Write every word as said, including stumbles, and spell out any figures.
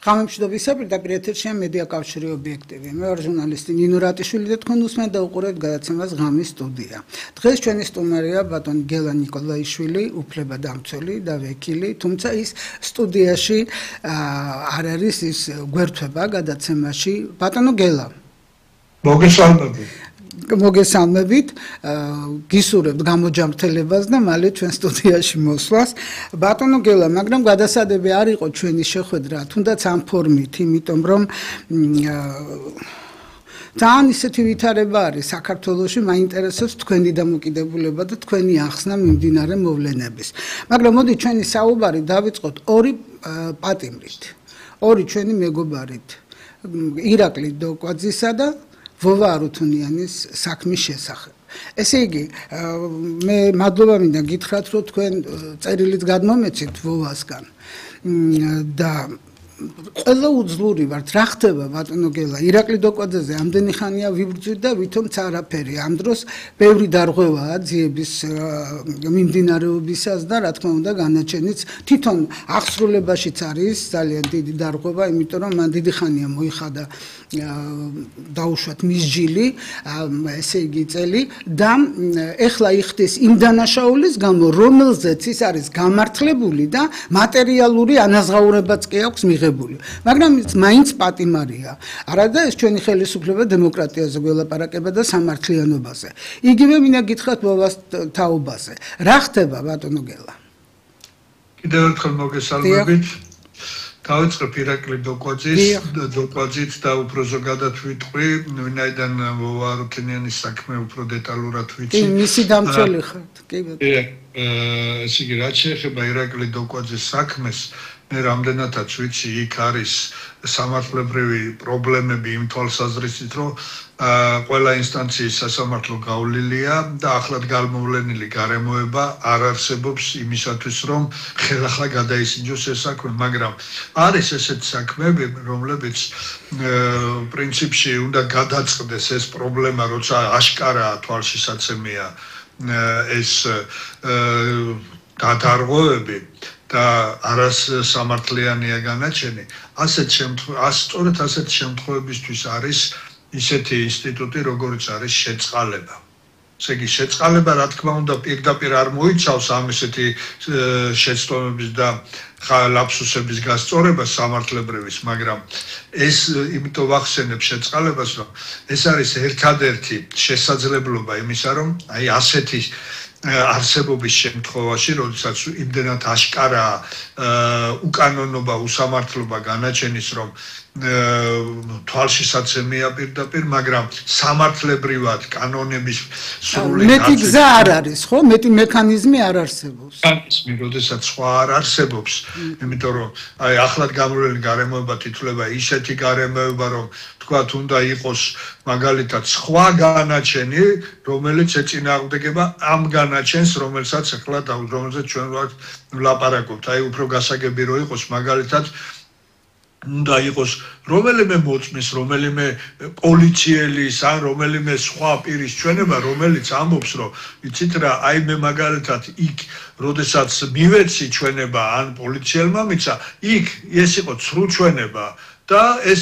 ღამემშვიდობისა, პირდაპირ ეთერშია მედია კავშირი ობიექტივი. მე ვარ ჟურნალისტი ნინო რატიშვილი და თქვენ უსმენთ და უყურებთ გადაცემას ღამის სტუდია. დღეს ჩვენი სტუმარია ბატონი გელა ნიკოლაიშვილი, უფლებადამცველი და ვეკილი, თუმცა ის სტუდიაში არ არის, ის გვერდთვება გადაცემაში. ბატონო გელა. მოგესალმებით. მოგესალმებით, გისურვებთ გამოჯანმრთელებას და მალე ჩვენ სტუდიაში მოსვლას. ბატონო გელა, მაგრამ გადასადები არ იყო ჩვენი შეხვედრა, თუნდაც ამ ფორმით, იმიტომ რომ ძალიან ისეთი ვითარება არის საქართველოში, მაინტერესებს თქვენი დამოკიდებულება და თქვენი ახსნა მიმდინარე მოვლენების. მაგრამ მოდი ჩვენი საუბარი დავიწყოთ ორი პატიმრით, ორი ჩვენი მეგობარით, ირაკლი დოკვაძისა და ვოვა არუთუნიანის საქმის შესახებ. ესე იგი, მე მადლობა მინდა გითხრათ, რომ თქვენ წერილით გადმომეცით ვოვასგან და ყველა უძლური ვართ, რა ხდება ბატონო გელა, ირაკლი დოკვაძეზე ამდენი ხანია ვიბრძვით და ვითომც არაფერი. ამ დროს ბევრი დარღვევაა ძიების მიმდინარეობისას და რა თქმა უნდა განაჩენიც თვითონ აღსრულებაშიც არის ძალიან დიდი დარღვევა, იმიტომ რომ მან დიდი ხანია მოიხადა დაუშვათ მის ჯილი, ესე იგი წელი და ეხლა იხდის იმ დანაშაულის გამო, რომელზეც ის არის გამართლებული და მატერიალური ანაზღაურებაც კი აქვს მიღებული. მაგრამ ის მაინც პატიმარია. არადა ეს ჩვენი ხელისუფლება დემოკრატიაზე გველაპარაკება და სამართლიანობაზე. იგივე მინდა გითხრათ ვოვას თაობაზე. რა ხდება ბატონო გელა? კიდევ ერთხელ მოგესალმებით. დავიწყებ ირაკლი დოკვაძის, დოკვაძით და უფრო ზოგადად ვიტყვი, ვინაიდან ვოვა არუთუნიანის საქმე უფრო დეტალურად ვიცი. კი, მისი დამცველი ხართ, კი ბატონო. ესე იგი, რაც შეეხება ირაკლი დოკვაძის საქმეს, მე რამდენადაც ვიცი, იქ არის სამართლებრივი პრობლემები იმ თვალსაზრისით, რომ ყველა ინსტანციის სასამართლო გავლილია და ახლად გამოვლენილი გარემოება არ არსებობს იმისათვის, რომ ხელახლა გადაისინჯოს ეს საქმე, მაგრამ არის ესეთი საქმეები, რომლებიც პრინციპში უნდა გადაწყდეს ეს პრობლემა, როცა აშკარაა თვალშისაცემია ეს დადარღვევები და არას სამართლიანია განაჩენი. ასეთ შემთხვევაში, სწორედ ასეთ შემთხვევებისთვის არის ისეთი ინსტიტუტი, როგორც არის შეწყალება. ესე იგი, შეწყალება, რა თქმა უნდა, პირდაპირ არ მოიცავს ამ ესეთი შეცდომების და ლაფსუსების გასწორებას სამართლებრივის, მაგრამ ეს იმიტომ ვახსენებ შეწყალებას, რომ ეს არის ერთადერთი შესაძლებლობა იმისა, რომ აი ასეთი არსებობის შემთხვევაში, როდესაც იმდენად აშკარაა უკანონობა, უსამართლობა განაჩენის, რომ თვალშისაცემია პირდაპირ, მაგრამ სამართლებრივად კანონების სრული მეტი გზა არ არის, ხო? მეტი მექანიზმი არ არსებობს. მექანიზმი, როდესაც სხვა არ არსებობს, იმიტომ რომ აი ახლად გამოვლენილი გარემოება თითქოს ისეთი გარემოება, რომ თქვათ უნდა იყოს მაგალითად სხვა განაჩენი, რომელიც ეწინააღმდეგება ამ განაჩენს, რომელსაც ახლა რომელსაც ჩვენ ვლაპარაკობთ. აი უფრო გასაგები რო იყოს მაგალითად უნდა იყოს რომელიმე მოწმის, რომელიმე პოლიციელის ან რომელიმე სხვა პირის ჩვენება, რომელიც ამბობს, რომ იცით რა, აი მე მაგალითად იქ, როდესაც მივეცი ჩვენება ან პოლიციელმა მიცა, იქ ეს იყო ცრუ ჩვენება და ეს